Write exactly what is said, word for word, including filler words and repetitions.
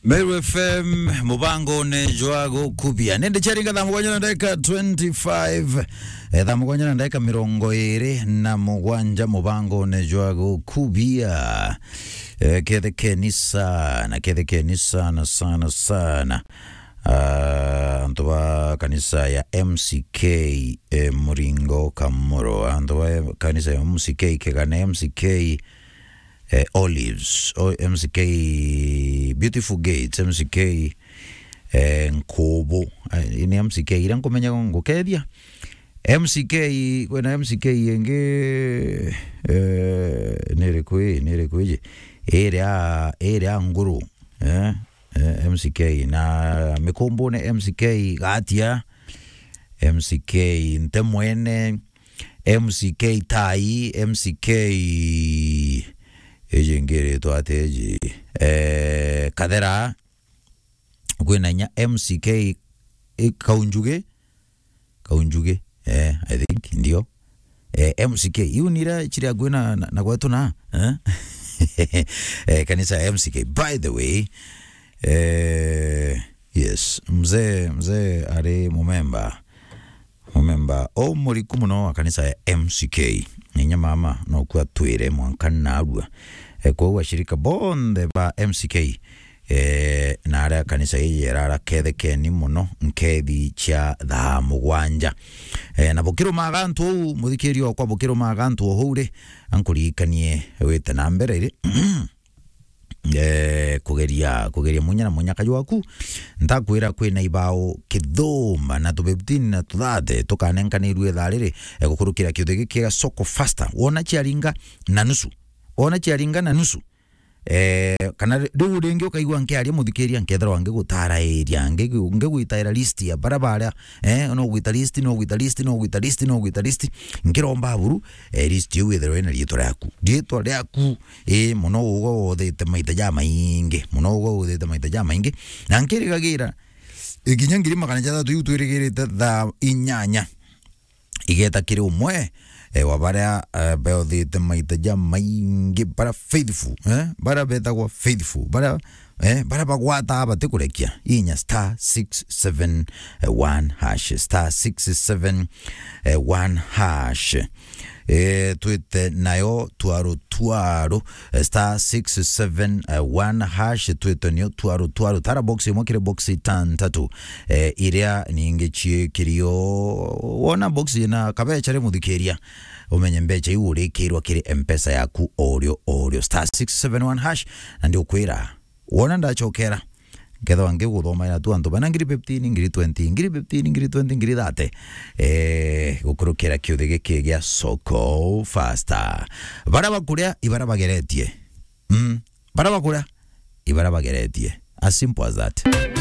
Meru F M, mubangone jwa gukubia. Nindi ciaringa thaa mugwanja na ndagika twenty-five. Eh, thaa mugwanja na ndagika mirongo iri na mugwanja mubangone jwa gukubia. Eh, kethekeni sana, kethekeni sana, sana, sana. Ah, antu ba kanisa ya M C K, eh, Muringo Kamuro. Antu ba kanisa ya M C K Kegane, M C K eh, Olives, o-, M C K Beautiful Gates, M C K, eh, Nkubu. Eh, ni M C K iria nkumenya ngukethia. M C K, kwina M C K ingi, eh, ni iriku ii, ni iriku iji? Iria, iria Nguru, eh, eh, M C K. Na Mikumbune M C K Gatia, M C K Ntemwene, M C K Tai, M C K iji ingi iritwa atia iji? Eh, Kathera, kwina inya M C K, eh, Kaunjugi, Kaunjugi, eh, I think, ndio. Eh, M C K, iu ni iria ciri akui na, na, na gwetu na, eh? Eh, kanisa ya M C K. By the way, eh, yes, mzee, mzee ari mumemba. Mumemba o muriku muno wa kanisa ya M C K. Inya mama, no kua twire mwanka narua. E, kwou ashirika bonthe ba M C K, e, na aria kanisa ii irara, kethekeni muno nkethi cia thaa mugwanja. E, na bukirumaga antu uu, muthikiria okwa, bukirumaga antu o huu ri, ankuririkanie wite na mbere ri. Eh, kugeria, kugeria munya na munyaka jwaku. Ntakwira kwina ibao kithumba na tu fifteen na tu thirty tukanenkanirue ithaa riri, eh, gukurukira kiuthi giki gia Soko Faster. Wona ciaringa na nusu. Wona ciaringa na nusu. Eh, kana ri-, riu ringi ukaigua nkiaria muthikiria, nkethirwa ngigutara area, ngi-, ngigwitaira list ya bara baria, eh, no gwita list, no gwita list, no gwita list, no gwita list. Nkiromba buru, eh, list iu ithirwe ina riitwa riaku. Riitwa riaku, ii, muno ugwe uthite maita jamaingi, muno ugwe uthite maita jamaingi. Na nkirigagira, ikinya ngiri magana jathatu iu twirigirite thaa inyanya, igeta kiri umwe, eh, wa baria, eh, beothite maita jamaingi, bara faithful, eh, bara betagwa faithful, bara, eh, bara bagwata batikurekia, inya star six seven one hash, star six seven one hash. Eh, twite nayo twaro twaro, eh, star six seven one hash, twite nayo twaro twaro. Tara box imwe kiri box itantatu, eh, iria ningi ciikirio. Wona box ina kabecha ri muthikiria, umenye mbecha iu urikirwa kiri M-Pesa yaku orio orio. Star six seven one hash, na ndiukwira, wona ndachokera, nkethwa ngiguthomaira tu antu bana ngiri fifteen, ngiri twenty, ngiri fifteen, ngiri twenty, ngiri thirty. Eh, gukurukira kiuthi giki gia Soko Faster. Bara bakuria, ibara bageretie. Mm. Bara bakuria, ibara bageretie. As simple as that.